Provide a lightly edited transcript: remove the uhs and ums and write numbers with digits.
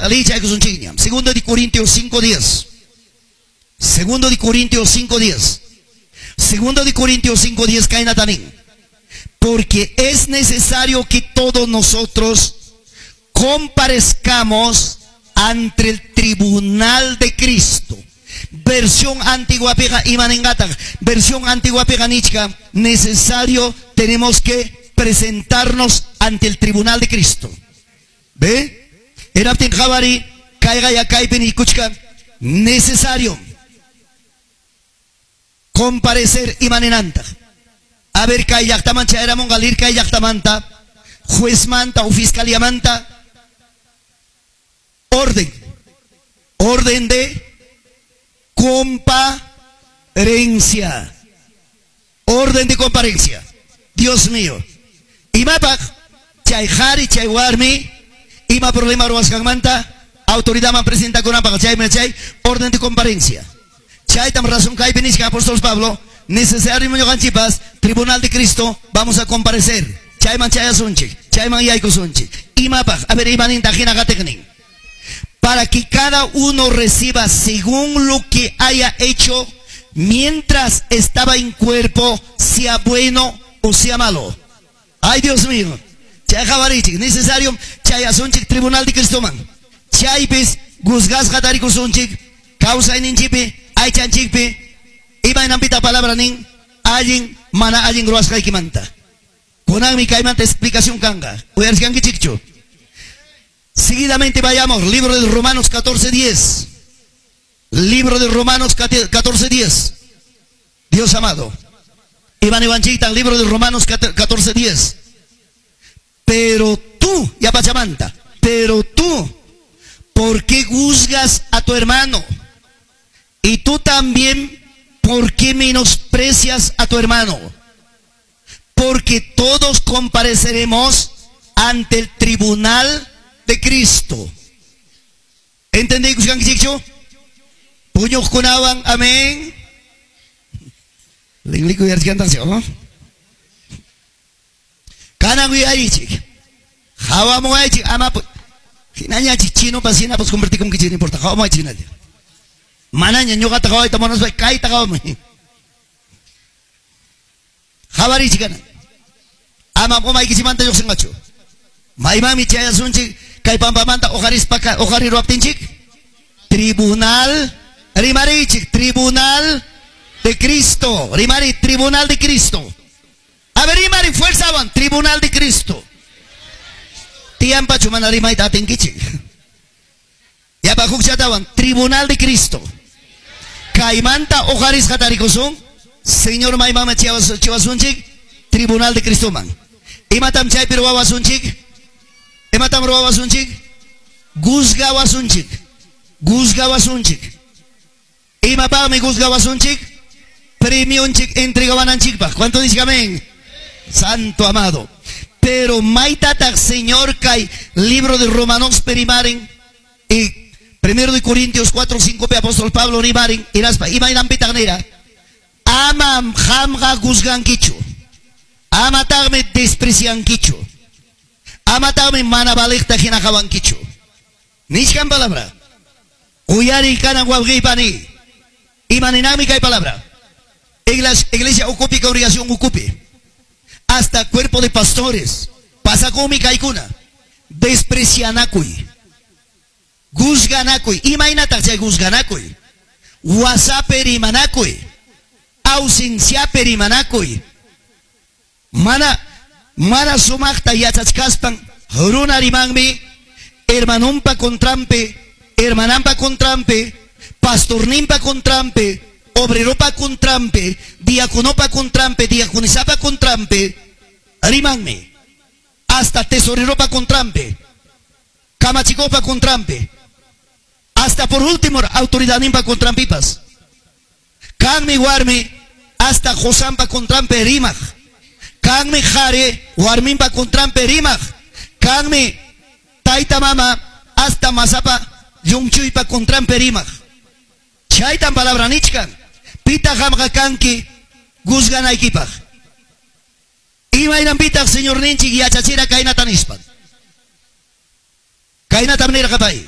Liychaykusunchikñam. Segundo de Corintios 5:10. Segundo de Corintios 5:10. Segundo de Corintios 5:10 kaynata nin. Porque es necesario que todos nosotros comparezcamos ante el tribunal de Cristo. Versión antigua piqa imaninqataq. Versión antigua piqa nichka, necesario tenemos que presentarnos ante el tribunal de Cristo. ¿Ve? Hinaptin qhawari kayqa ya kaypi niykuchka necesario comparecer imaninantaq. A ver, kay llaqtaman chayaramunqa lir kay llaqtamanta, juezmanta o fiscaliamanta, orden. Orden de comparencia. Orden de comparencia. Dios mío. Imapaq chay qhari chay warmi ima problema ruwasqanmanta autoridadman presentakunanpaq chaymi chay orden de comparencia. Chaytam razón kaypi nichka apóstol Pablo, necesario ñuqanchikpas tribunal de Cristo vamos a comparecer. Chayman chayasunchik, chayman yaykusunchik. Imapaq, a ver, imaninta hina qatiqnin. Para que cada uno reciba según lo que haya hecho mientras estaba en cuerpo, sea bueno o sea malo. Ay, Dios mío. Chay qhawarichik, necesario chayasunchik tribunal de Cristoman. Chaypis juzgasqa tarikusunchik, kawsayninchikpi, aychanchikpi, imaynanpita palabra nin, allin mana allin ruwasqaykimanta. Kunanmi kaymanta explicación kanqa. Uyarishkankichikchu. Seguidamente vayamos, libro de Romanos 14:10. Libro de Romanos 14:10. Dios amado. Iván Ivanchita, libro de Romanos 14:10. Pero tú, ya pachamanta, pero tú, ¿por qué juzgas a tu hermano? Y tú también, ¿por qué menosprecias a tu hermano? Porque todos compareceremos ante el tribunal de Cristo. ¿Entendí, Kuskankichikchu? Puñuqkunawan, amén. Lingliku yarchkantansi, ¿no? Kanan uyarichik. Hawamuaychik, ama hinañachik chinopas hinapas convertikunkichik, no importa. Hawamuaychik hinalla. Manaña ñuqata hawayta munaspa kayta hawamuy. Hawarichik kanan. Ama umaykichikmanta lluqsinqachu. Maymanmi chayasunchik kay pampamanta uqarispa uqariruwaptinchik. Tribunal rimarichik, tribunal de Cristo. Rimari, tribunal de Cristo. A ver, rimari, fuerza van, tribunal de Cristo. Tiyampachu mana rimayta atinkichik. Yapa hukchatawan, tribunal de Cristo. Kaymanta uqarisqa tarikusun, Señor maymama chiwasunchik, tribunal de Cristo man. Imatam chaypi ruwawasunchik? Imatam ruwawasunchik? Juzgawasunchik. Juzgawasunchik. Imapaqmi juzgawasunchik? Premionchik entregawananchikpaq. ¿Cuánto dice amén? Santo amado. Pero maytataq Señor kay libro de Romanos perimaren y primero de Corintios 4, 5 pe apóstol Pablo rimaren hinaspa imaynanpitaq nira amam qamqa juzgankichu. Amataqmi despreciankichu. Amataqmi mana valiqta hina qawankichu. Nichkan palabra. Uyari kanan wawqiypani. Imaninami kay palabra. Iglesia ukupi, congregación ukupi. Hasta cuerpo de pastores. Pasakumi kaykuna. Desprecianakuy. Juzganakuy. Imaynataq chay juzganakuy. Wasapi rimanakuy. Ausenciapi rimanakuy. Mana mana sumaqta yachachkaspan runa rimanmi hermanunpa contranpi, hermananpa contranpi, pastorninpa contranpi, obreropa contranpi, diaconopa contranpi, diaconisapa contranpi, rimanmi. Hasta tesoreropa contranpi, kamachikopa contranpi, hasta por último autoridadninpa contranpipas. Kanmi warmi hasta qosanpa contranpi rimaq. Kanmi qhari warminpa contranpi rimaq. Kanmi tayta mama hasta masapa llumchuypa contranpi rimaq. Chaytan palabra nichkan. Pita qamqa kanki juzganaykipaq. Imaynanpitaq Señorninchik yachachira kaynata nispan. Kaynatam nirqa pay.